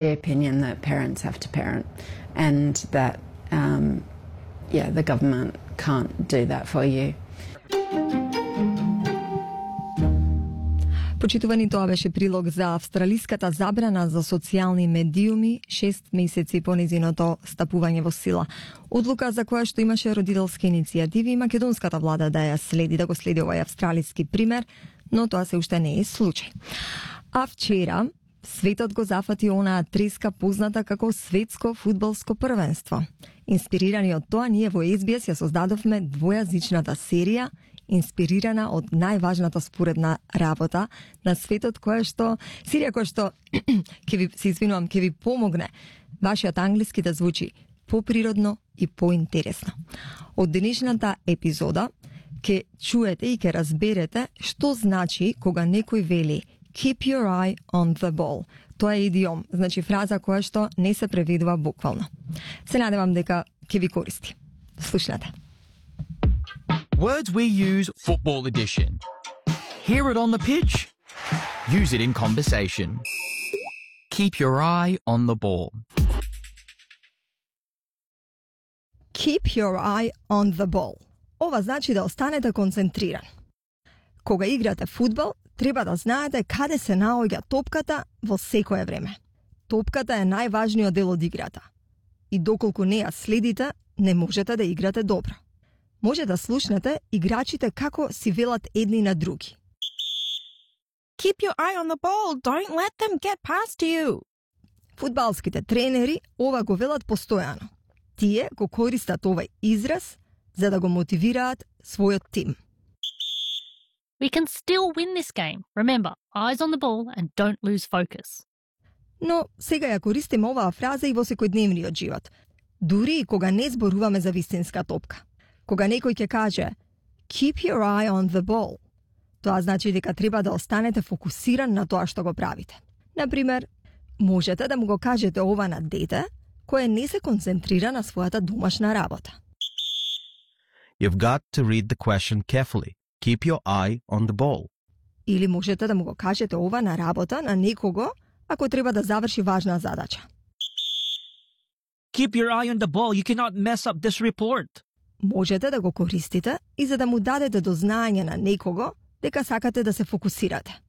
The opinion that parents have to parent and that, the government can't do that for you. Почитувани, тоа беше прилог за австралиската забрана за социјални медиуми 6 месеци по незиното стапување во сила. Одлука за која што имаше родителски иницијативи и македонската влада да ја следи, да го следи овој австралиски пример, но тоа се уште не е случај. А вчера светот го зафати онаа треска позната како светско фудбалско првенство. Инспирирани од тоа, ние во SBS ја создадовме двојазичната серија инспирирана од најважната споредна работа на светот, серија која што ќе ви помогне вашиот англиски да звучи поприродно и поинтересно. Од денешната епизода ќе чуете и ќе разберете што значи кога некој вели keep your eye on the ball. Тоа е идиом, значи фраза која што не се преведува буквално. Се надевам дека ќе ви користи. Слушнете. Words we use football edition. Hear it on the pitch. Use it in conversation. Keep your eye on the ball. Keep your eye on the ball. Ова значи да останете концентриран. Кога играте фудбал, треба да знаете каде се наоѓа топката во секое време. Топката е најважниот дел од играта. И доколку не ја следите, не можете да играте добро. Може да слушнете играчите како си велат едни на други. Keep your eye on the ball. Don't let them get past you. Фудбалските тренери ова го велат постојано. Тие го користат овој израз за да го мотивираат својот тим. We can still win this game. Remember, eyes on the ball and don't lose focus. Но сега ја користиме оваа фраза и во секојдневниот живот. Дури и кога не зборуваме за вистинска топка. Кога некој ќе каже keep your eye on the ball, тоа значи дека треба да останете фокусиран на тоа што го правите. Например, можете да му го кажете ова на дете кое не се концентрира на својата домашна работа. You've got to read the question carefully. Keep your eye on the ball. Или можете да му го кажете ова на работа на некого ако треба да заврши важна задача. Keep your eye on the ball. You cannot mess up this report. Можете да го користите и за да му дадете до знаење на некого дека сакате да се фокусирате.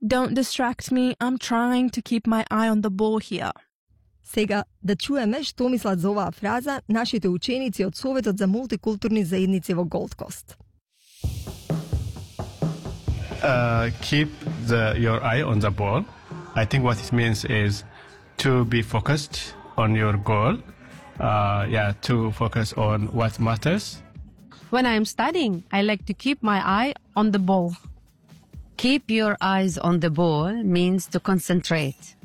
Don't distract me. I'm trying to keep my eye on the ball here. Сега да чуеме што мислат за оваа фраза нашите ученици од Советот за мултикултурни заедници во Голд Кост. Keep your eye on the ball. I think what it means is to be focused on your goal. To focus on what matters. When I'm studying, I like to keep my eye on the ball. Keep your eyes on the ball means to concentrate.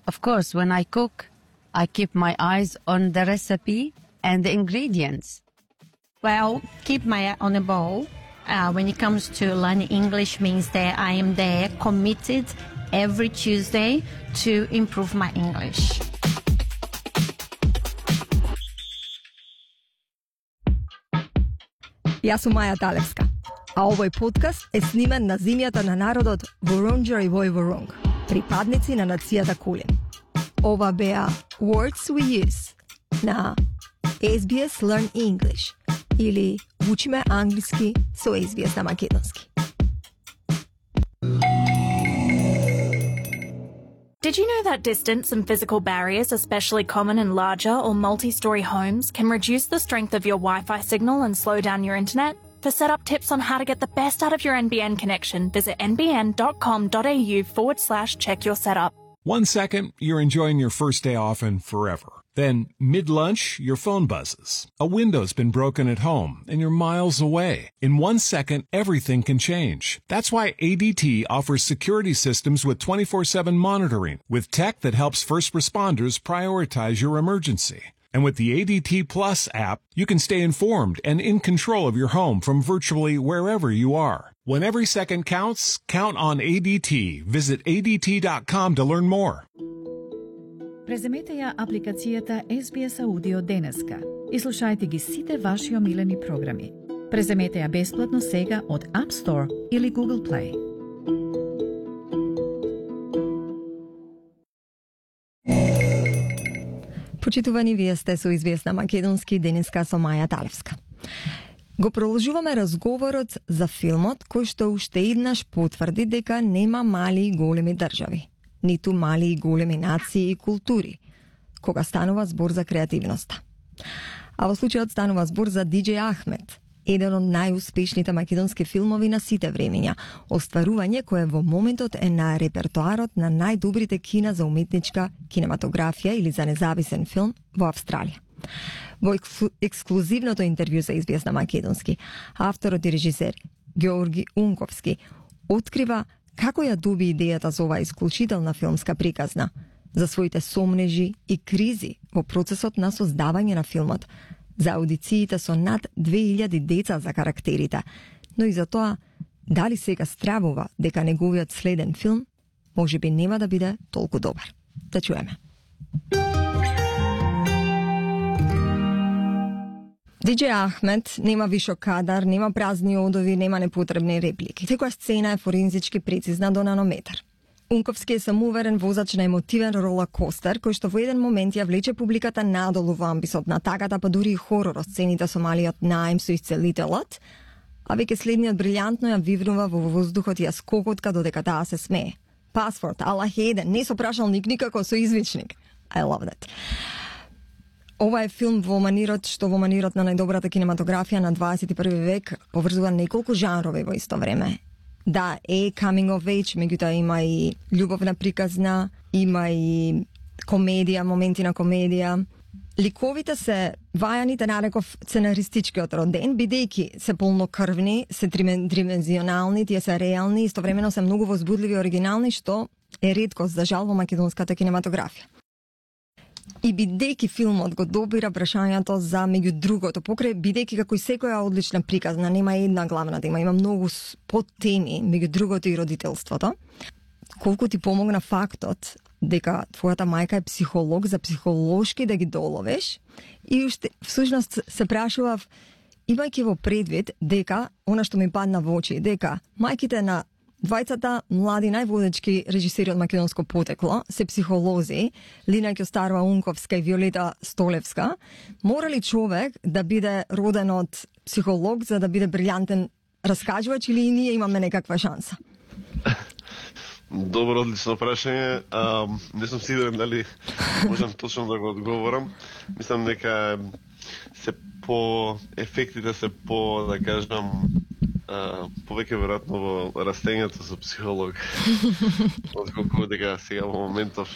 Of course, when I cook, I keep my eyes on the recipe and the ingredients. Well, keep my eye on the ball when it comes to learning English means that I am there committed every Tuesday to improve my English. Јас сум Маја Талевска, а овој подкаст е снимен на земјата на народот Wurundjeri Woi-wurrung, припадници на нацијата Кулин. Ова беа Words We Use на SBS Learn English или Учиме англиски со SBS на македонски. Did you know that distance and physical barriers, especially common in larger or multi-story homes, can reduce the strength of your Wi-Fi signal and slow down your internet? For setup tips on how to get the best out of your NBN connection, visit nbn.com.au/check your setup. 1 second, you're enjoying your first day off and forever. Then, mid-lunch, your phone buzzes. A window's been broken at home, and you're miles away. In 1 second, everything can change. That's why ADT offers security systems with 24/7 monitoring, with tech that helps first responders prioritize your emergency. And with the ADT Plus app, you can stay informed and in control of your home from virtually wherever you are. When every second counts, count on ADT. Visit ADT.com to learn more. Преземете ја апликацијата SBS Audio денеска и слушајте ги сите ваши омилени програми. Преземете ја бесплатно сега од App Store или Google Play. Почитувани, вие сте со СБС на македонски, денеска со Маја Талевска. Го продолжуваме разговорот за филмот кој што уште еднаш потврди дека нема мали и големи држави, ниту мали и големи нации и култури, кога станува збор за креативноста. А во случајот станува збор за Диџеј Ахмет, еден од најуспешните македонски филмови на сите времиња, остварување кое во моментот е на репертоарот на најдобрите кина за уметничка кинематографија или за независен филм во Австралија. Во ексклузивното интервју за СБС на македонски, авторот и режисер Георги Унковски открива како ја доби идејата за оваа исклучителна филмска приказна, за своите сомнежи и кризи во процесот на создавање на филмот, за аудициите со над 2000 деца за карактерите, но и за тоа дали сега стравува дека неговиот следен филм можеби нема да биде толку добар. Да чуеме. Диџеј Ахмет нема вишок кадар, нема празни одови, нема непотребни реплики. Секоја сцена е форензички прецизна до нанометар. Унковски е самоуверен возач на емотивен ролакостер, кој што во еден момент ја влече публиката надолу во амбисот на тагата, па дури и хорор сцените со малиот наим со исцелителот, а веќе следниот брилјантно ја вивнува во воздухот и ја скокотка додека таа се смее. Пасворд, Аллах еден, не со прашалник, никако со извичник. I love that. Ова е филм во манирот што во манирот на најдобрата кинематографија на 21 век поврзува неколку жанрови во исто време. Да, е coming of age, меѓутоа има и љубовна приказна, има и комедија, моменти на комедија. Ликовите се вајаните нареков сценаристичкиот роден, бидејќи се полнокрвни, се тримenzионални, тие се реални, истовремено се многу возбудливи и оригинални, што е реткост за жал во македонската кинематографија. И бидејќи филмот го добира прашањето за меѓу другото, покрај бидејќи како и секоја одлична приказна, нема една главна тема, има многу подтеми, меѓу другото и родителството. Колку ти помогна фактот дека твојата мајка е психолог, за психолошки да ги доловеш, и уште всушност се прашував, имајќи во предвид дека, она што ми падна во очи, дека мајките на двајцата млади најводечки режисери од македонско потекло се психолози, Лина Ќостарова Унковска и Виолета Столевска, мора ли човек да биде роден од психолог за да биде брилјантен раскажувач или и ние имаме некаква шанса? Добро, одлично прашање. Не сум сигурен дали можам точно да го одговорам. Мислам дека се по ефектите се по, да кажам, повеќе веројатно во растењето со психолог, отколку дека сега во моментов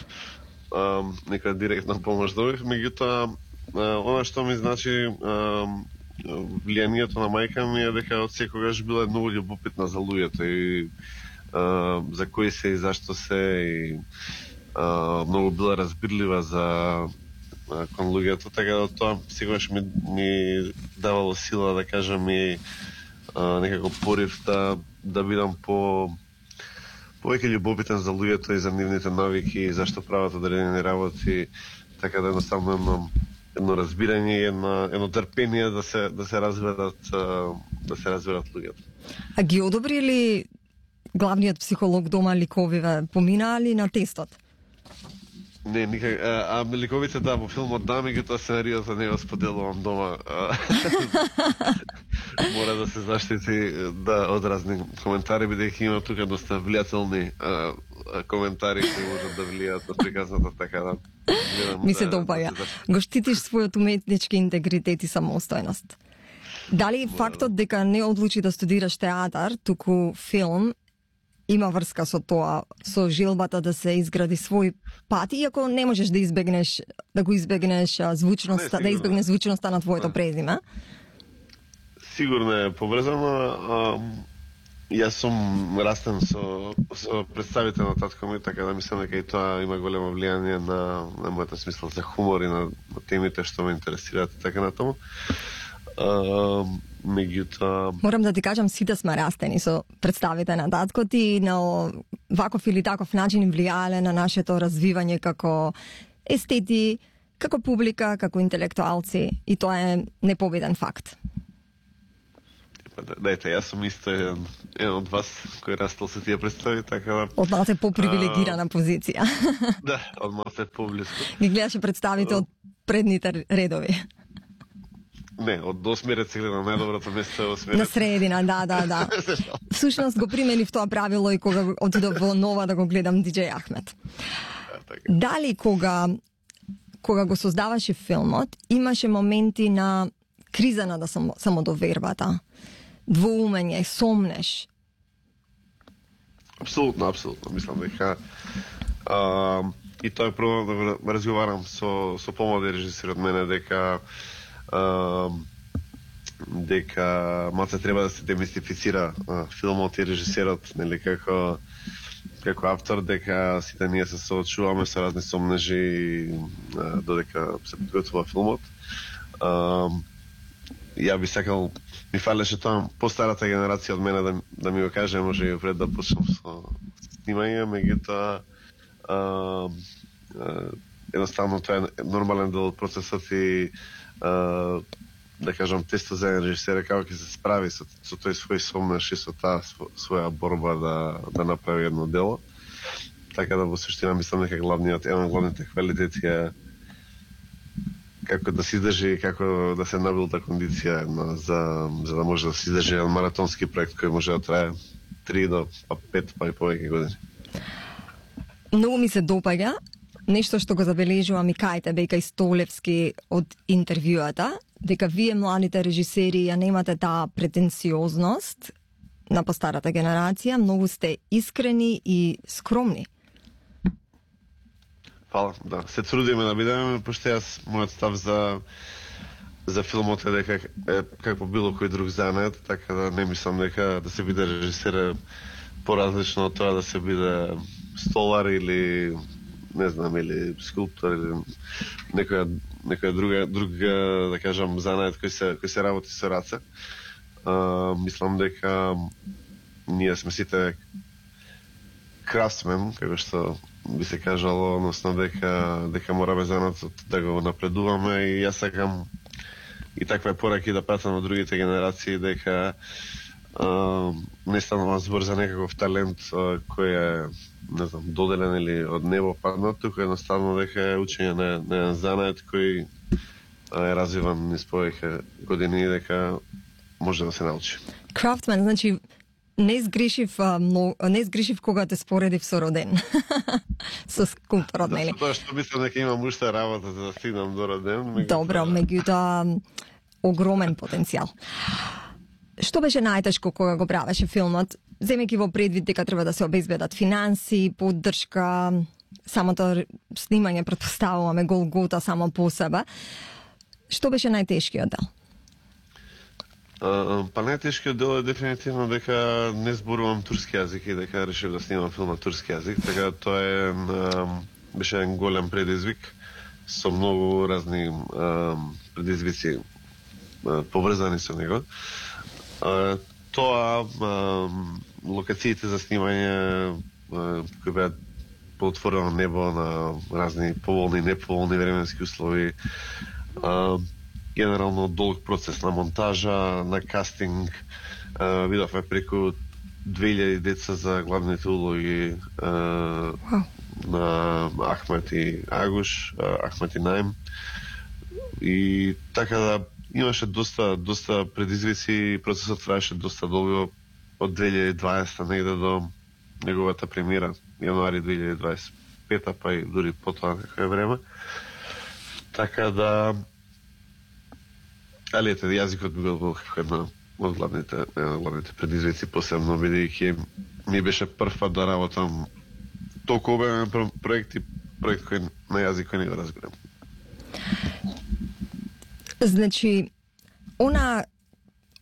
нека директна помош добив. Меѓутоа, она што ми значи влијанието на мајка ми е дека од секогаш била многу љубопитна за луѓето и за кои се и зашто се, и многу била разбирлива за кон луѓето, така да тоа секогаш ми давало сила, да кажам, и некако порив да бидам повеќе љубопитен за луѓето и за нивните навики и зашто прават одредени работи, така да едноставно едно разбирање и едно трпение да се разберат луѓето. А ги одобри ли главниот психолог дома ликовиве, поминаа ли на тестот? Не, никак. Ликовите да, во филмот да, меѓутоа сценаријата не го споделувам дома. Мора да се заштити од разни коментари, бидејќи има тука доста влијателни коментари кои можат да влијаат на приказната, така да ми се допаја. Го штитиш својот уметнички интегритет и самостојност. Дали фактот дека не одлучи да студираш театар, туку филм, има врска со тоа, со желбата да се изгради свој пат, иако не можеш да избегнеш звучноста, да избегнеш звучноста на твоето презиме? Сигурно е поврзано. Јас сум растен со представите на татко ми, така да мислам дека и тоа има големо влијание на мојата смисла за хумор и на темите што ме интересираат и така натаму. Морам да ти кажам, сите сме растени со представите на таткот и на ваков или таков начин им влијале на нашето развивање како естети, како публика, како интелектуалци, и тоа е непобеден факт. Дајте, јас сум исто еден од вас кој растал со тие представи, така да... Од малце попривилегирана позиција. Да, од малце поблиско. Ги гледаше представите од предните редови. Не, од 8 ред се гледа најдоброто место е 8 ред. На средина, да. Всушност го применив тоа правило и кога отидов во Нова да го гледам DJ Ахмед. Дали кога го создаваше филмот, имаше моменти на криза на самодовербата, двоумење, сомнеш? Апсолутно. Мислам дека и тоа е прво да разговарам со помлади режисери од мене дека малце треба да се демистифицира филмот и режисерот, нели, како автор, дека сите ние се соочуваме со разни сомнежи додека се подготвува филмот. Ја би сакал, ми фалеше тоа постарата генерација од мене да ми го каже, може и пред да почнам со снимање, меѓутоа едноставно тоа е нормален дел од процесот и да кажам тестот за режисера како ќе се справи со тој свој сомнеш и со таа своја борба да направи едно дело. Така да во суштина мислам дека еден од главните квалитети е како да се издржи и како да се набилта кондиција за да може да се издржи еден маратонски проект кој може да трае 3 до 5 па и повеќе години. Многу ми се допаѓа нешто што го забележувам и кајте Бека Истолевски од интервјуата, дека вие младите режисери ја немате таа претенциозност на постарата генерација, многу сте искрени и скромни. Фала, да. Се трудиме да бидеме, пошто јас мојот став за филмот е дека е како било кој друг занет, така да не мислам дека да се биде режисер поразлично од тоа да се биде столар или не знам, или скулптор или некоја друга да кажам занет кој се работи со раце. Мислам дека ние сме сите крафтсмен, како што би се кажало, односно дека мораме занатот да го напредуваме и јас сакам и таква пораки да пратам на другите генерации дека не станува збор за некаков талент кој е, не знам, доделен или од небо паднат, туку едноставно дека е учење на занет кој е развиван низ повеќе години и дека може да се научи. Крафтмен, значи не сгрешив кога те споредив со Роден. Со скулпторот, нели? Тоа што мислам дека имам уште работа за да стигнам до Роден. Добро, меѓутоа огромен потенцијал. Што беше најтешко кога го правеше филмот, земејќи во предвид дека треба да се обезбедат финанси, поддршка, самото снимање претпоставуваме Голгота само по себе. Што беше најтешкиот дел? Па најтешкиот дел е дефинитивно дека не зборувам турски јазик и дека решив да снимам филм на турски јазик, така тоа беше еден голем предизвик со многу разни предизвици поврзани со него. Тоа локациите за снимање кои беа по отворено небо на разни поволни и неповолни временски услови, генерално долг процес на монтажа, на кастинг, видовме преку 2000 деца за главните улоги на Ахмет и Агуш, Ахмет и Наим, и така да имаше доста предизвици и процесот траеше доста долго од 2020 негде до неговата премиера јануари 2025, па и дури потоа некој време. Така да али ете, јазикот бил една од главните предизвици, посебно бидејќи ми беше прв пат да работам толку обемен проект кој на јазик кој не го разбирам. Значи, она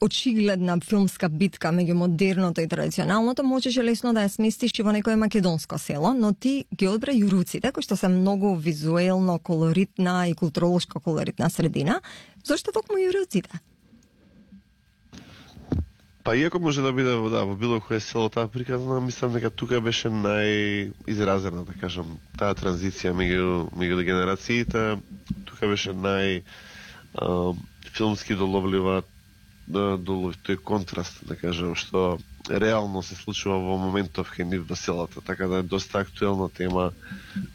очигледна филмска битка меѓу модерното и традиционалното можеше лесно да ја сместиш и во некое македонско село, но ти ги одбра Јуруците, кои што се многу визуелно колоритна и културолошко колоритна средина. Зошто токму Јуруците? Па иако може да биде во било кое село таа приказна, мислам дека тука беше најизразена, да кажам, таа транзиција меѓу генерациите, тука беше филмски доловлива долу тој контраст, да кажем, што реално се случува во моментов кај нив во селата, така да е доста актуелна тема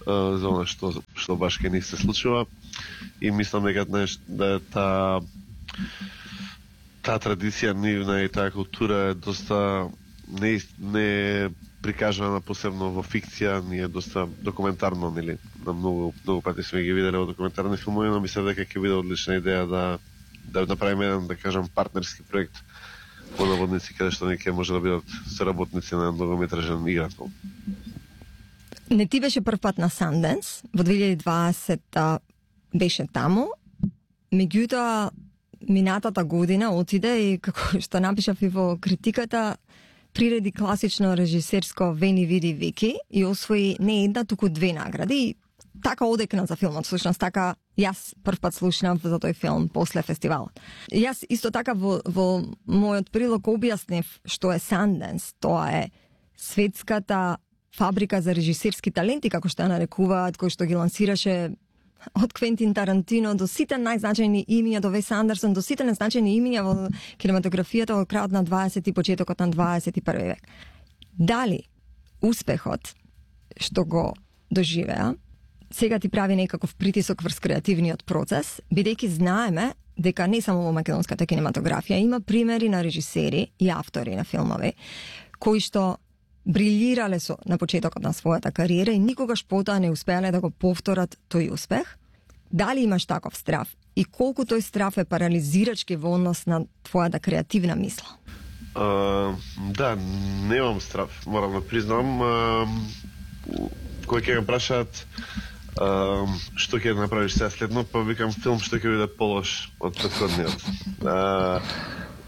за она што баш кај нив се случува. И мислам дека да таа традиција нивна и таа култура е доста не прикажана посебно во фикција, ни е доста документарно, нели? На многу пати сме ги виделе во документарни филмови, но мислам дека ќе биде одлична идеја да направиме еден, да кажем, партнерски проект по наводници, каде што неќе може да бидат соработници на многометражен игрател. Не ти беше прв пат на Sundance, во 2020 беше таму, меѓутоа минатата година отиде и, како што напишав и во критиката, приреди класично режисерско Вени види Вики и освои не една, туку 2 награди. И така одекна за филмот, всушност така јас прв пат слушнав за тој филм после фестивалот. Јас исто така во мојот прилог објаснив што е Sundance. Тоа е светската фабрика за режисерски таленти, како што ја нарекуваат, кој што ги лансираше од Квентин Тарантино до сите најзначајни имиња, до Вес Андерсон, до сите најзначајни имиња во кинематографијата во крајот на 20 и почетокот на 21 век. Дали успехот што го доживеа сега ти прави некаков притисок врз креативниот процес, бидејќи знаеме дека не само во македонската кинематографија има примери на режисери и автори на филмови кои што брилирале на почетокот на својата кариера и никогаш потоа не успеале да го повторат тој успех. Дали имаш таков страв и колку тој страв е парализирачки во однос на твојата креативна мисла? Да, немам страв, морам да признам. Кој ќе ме прашаат што ќе направиш сега следно, па викам филм што ќе биде полош од претходниот.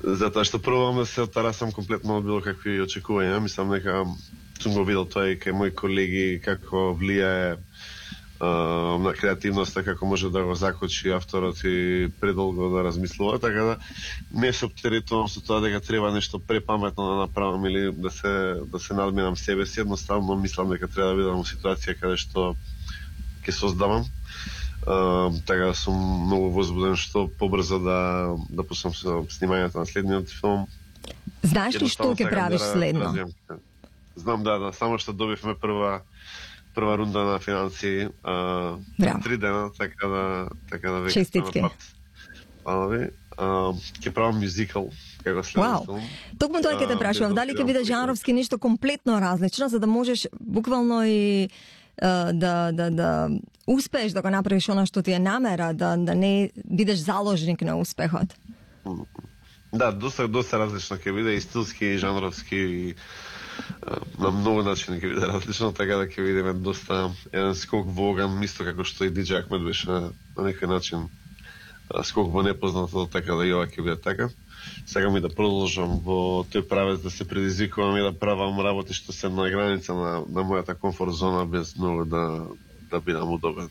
Затоа што пробувам да се оттарасам комплетно од било какви очекувања. Мислам дека сум го видел тоа и кај мои колеги како влијае на креативноста, како може да го закочи авторот и предолго да размислува, така да не се оптеретувам со тоа дека треба нешто препаметно да направам или да се надминам себе си. Едноставно мислам дека треба да бидам во ситуација каде што ќе создавам. Така сум многу возбуден што побрзо да пуснам со снимањето на следниот филм. Знаеш ли што ќе правиш следно? Знам, да, само што добивме прва рунда на финанси 3 дена, така да веќе честитки. Ќе правам мюзикал како следен филм. Токму тоа ќе те прашував, дали ќе биде жанровски нешто комплетно различно, за да можеш буквално и да успееш да го направиш она што ти е намера, да не бидеш заложник на успехот. Да, доста различно ќе биде, и стилски, и жанровски, на многу начини ќе биде различно, така да ќе видиме доста еден скок во оган, исто како што и DJ Ахмед беше на некој начин скок во непознато, така да и ова ќе биде така. Сакам и да продолжам во тој правец, да се предизвикувам и да правам работи што се на граница на мојата комфорт зона, без многу да бидам удобен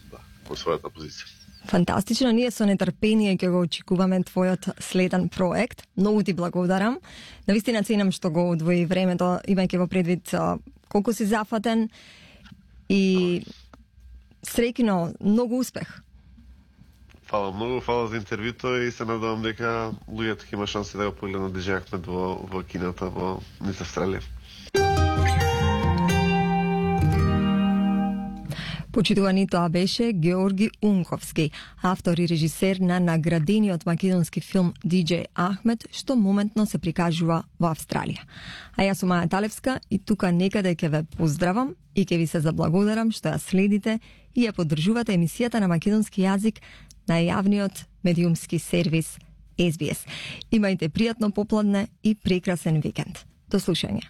во својата позиција. Фантастично, ние со нетрпение ќе го очекуваме твојот следен проект. Многу ти благодарам. Навистина ценам што го одвои времето, имајќи во предвид колку си зафатен и среќно, многу успех. Фала многу, фала за интервјуто и се надевам дека луѓето ќе има шанси да го погледнат DJ Ахмед во кината во низ Австралија. Почитувани, тоа беше Георги Унковски, автор и режисер на наградениот македонски филм DJ Ахмед, што моментно се прикажува во Австралија. А јас сум Маја Талевска и тука некаде ќе ве поздравам и ќе ви се заблагодарам што ја следите и ја поддржувате емисијата на македонски јазик на јавниот медиумски сервис SBS. Имајте пријатно попладне и прекрасен викенд. До слушање.